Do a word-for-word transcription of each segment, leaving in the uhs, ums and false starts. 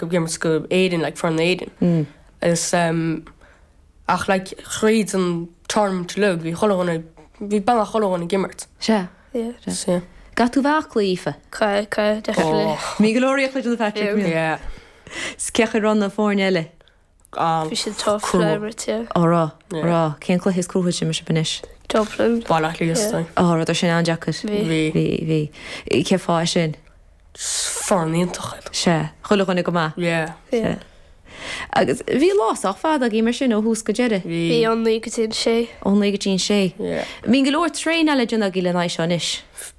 Ag imirt go Éirinn like foireann Éirinn. Agus um, ach like thríd an tournament uilig bhí chuile dhuine bhí beagnach chuile dhuine ag imirt. Sea. Yeah. So, yeah. Caithfidh tú bheith aclaí, Aoife. Caithfidh, caithfidh, definitely. Oh. Bhí go leor aclaí do Patrick. Yeah. Yeah. 'S cén chaoi a raibh na foirne eile. Um, Bhí siad tough Crua. le imirt, yeah. Á rá, Yeah. rá, cén cluiche is cruacha sin sibh anois? Dublin. Baile Átha Cliath, Yeah. Á rud sin an-deacair. Bhí. Bhí. Bhí, bhí. Cé fáth sin? Foireann iontach iad. Sea, chuile dhuine go maith. Yeah. Yeah. Agus bhí lá sách fada agaibh mar sin ó thús go deireadh. Bhí Bhí. ón naoi go dtí an sé. Ó naoi go dtí an sé. Yeah. Bíonn go leor traenáil le déanamh agaibh le haghaidh seo anois.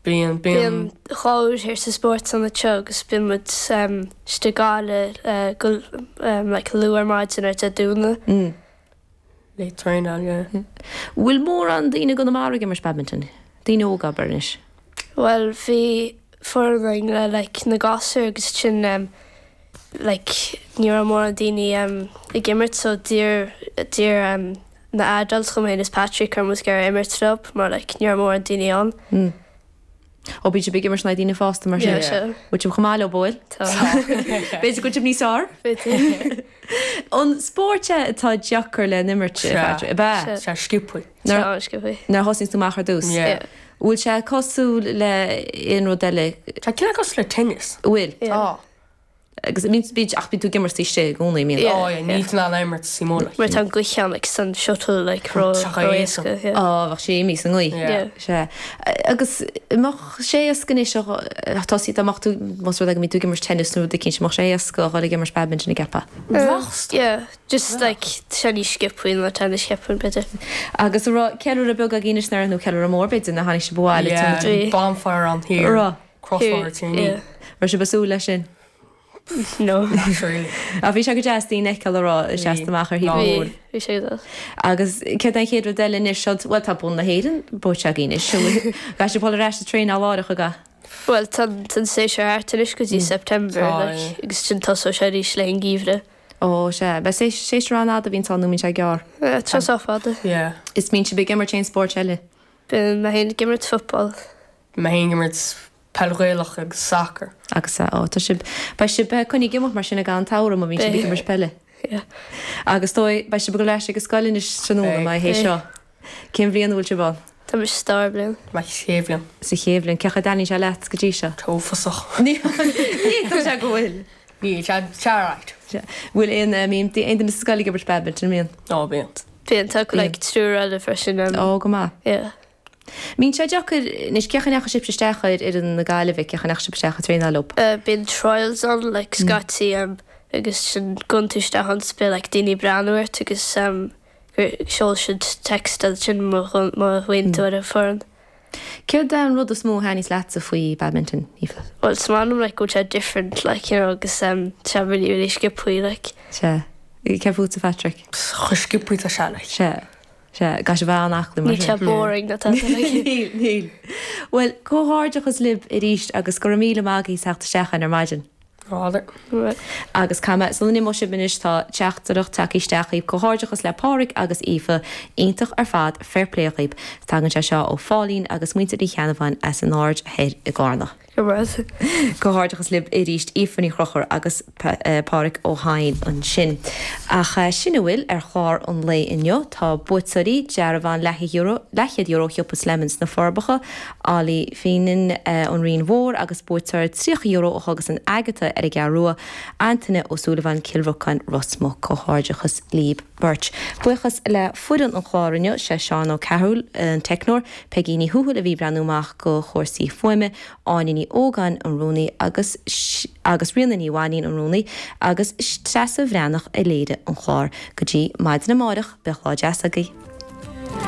Bíonn Bíonn bíonn dhá uair thiar sa spórtlann seo agus bíonn muid um, istigh Gaillimh uh, go um, like, luath ar maidin ar Dé Domhnaigh. Mm. le traenáil, yeah. Bhfuil mórán daoine i gConamara ag imirt badminton. Daoine óga abair anois. Well bhí foireann le like, na gasúir agus sin um, like, ní raibh mórán daoine um, ag imirt so d'iarr d'iarr um, na adults chomh maith is Patrick ar mus gar imirt leo mar like, ní raibh mórán daoine ann. Mm. Ó bíonn sibh ag imirt na daoine fásta mar sin. Yeah, sure. Bhfuil sibh chomh maith leo bhfuil? Tá. B'fhéidir go bhfuil níos fearr? B'fhéidir. An spórt é atá deacair le n-imirt Sea. Patrick, ab ea? Sea. Sé sciobtha. Tá sciobtha. Nuair a thosaíonn tú amach ar dtús. Yeah. Yeah. Bhfuil sé cosúil le aon rud eile Tá cineál cosúil le tennis. bhfuil? Yeah. Tá. Agus mín bí ach bíonn tú ag imirt istigh i gcónaí mín. Yeah. Oh, yeah, níl tú in ann imirt sa mbaile. Mar tá an gaoth ann like, san shuttle like, ró Tá ró éasca. éasca. Yeah. Á bheadh sé imithe sa ngaoth. Yeah. Sé. Agus mbeadh sé éasca anois tosaí amach tú más rud é go mbíonn tú ag imirt tennis nó rud éicint mbeadh sé éasca a dhul ag imirt badminton an gceapfá. Bheadh. Yeah, just like sé níos sciobtha ná tennis ceapaim b'fhéidir. Agus raibh ceiliúradh beag agaibh anois nó ceiliúradh mór b'fhéidir nuair a tháinig sibh abhaile Yeah, Bhí. bonfire ann thiar. Ra. Crossfire tí. Yeah. Raibh sibh ag súil leis sin. No. Not really. A bhí sé go deas daoine a fheiceáil a rá seasta amach ar thaobh Bhí mór. bhí sé go Agus céard an chéad rud eile anois seo well tá bonn na hÉireann buaite agaibh anois. Caithfidh sibh dul ar ais ag traenáil láithreach aga. Well tá an séasúr thart anois go dtí September Tá, like, yeah. agus sin tosóidh sé arís le an geimhreadh. Ó sé, be sé séasúr an-fhada a bhíonn ann nó mbíonn sé gearr. Uh, Tá sé fada. Yeah. Is mbíonn sibh ag imirt aon spórt eile. Bíonn mé féin ag imirt football. Mé féin ag imirt peil Ghaelach agus soccer. Agus ó tá sibh beidh sibh coinnithe ag imeacht mar sin ag an samhradh má bhíonn sibh ag imirt peile. Yeah. Agus dóigh beidh sibh ag dul ar ais ag an scoil anois tráthnóna Beidh. mar hé seo. Cén bhliain a bhfuil sibh ann? Tá mé sa dara bliain. Mé sa chéad bhliain. Sa chéad bhliain, cén chaoi a dtaitníonn sé leat go dtí seo. Uafásach. Ní Ní sé go bhfuil. Ní sé right. Bhfuil aon mbíonn aon duine sa scoil ag imirt badminton mbíonn? Nó bíonn. Bíonn tá like, triúr eile freisin. Um, Ó go maith. yeah. Mbíonn sé deacair anois cén chaoi a ndeachaigh sibh isteach ar ar na Gaillimhe cén chaoi a ndeachaigh sibh isteach ag traenáil leo. Uh, bíonn trials ann like, scaití um, agus sin gabhann tú isteach ann beidh like, daoine breathnú ort agus um, sheol siad text sin má bhíonn tú ar an foireann. Céard an rud is mó a thaitníos leatsa faoi badminton Aoife? Well, is maith liom like, go bhfuil sé different like, you know, agus um, sé really really sciobtha like. Se cé fútsa Patrick? Chomh sciobtha tá sé like. Se se ga se bheith aclaí mar Ní sé boring na tá like. Níl níl. Well, comhghairdeachas libh arís agus go raibh míle maith agaibh as teacht isteach ar maidin. Ráidir. Right. Agus cama san nimó sib inis tá teachtaireacht tagtha isteach comhghairdeachas le Pádraig agus Aoife iontach ar fad fair play dhaoib tagann sé seo ó Phauline agus muintir Uí Cheannabháin as an Aird Thoir i gCarna. Go raibh. Comhghairdeachas libh arís Aoife Ní Chonchúir agus Pádraig Ó hAinn ansin. Ach sin a bhfuil ar chlár an lae inniu tá buaiteoirí dearbhán leathchéad euro shiopa Slemons na Forbacha, Ali Fínan an Rinn Mhór agus buaiteoir tríocha euro ó thugas an Agatha ar an gCeathrú Rua, Antaine Ó Súilleabháin Cill Rocáin Ros Muc comhghairdeachas libh beirt. Buíochas le foireann an chláir inniu sé Seán Ó Ceathrú an teicneoir, Peggy Ní Thuathail a bhí ag breathnú amach go chúrsaí fuaime, Áine Ní Ógáin an rúnaí agus agus Ríona Ní Mhainín an rúnaí agus Treasa Bhreathnach a léirigh an chlár go dtí maidin amárach beidh lá deas agaibh.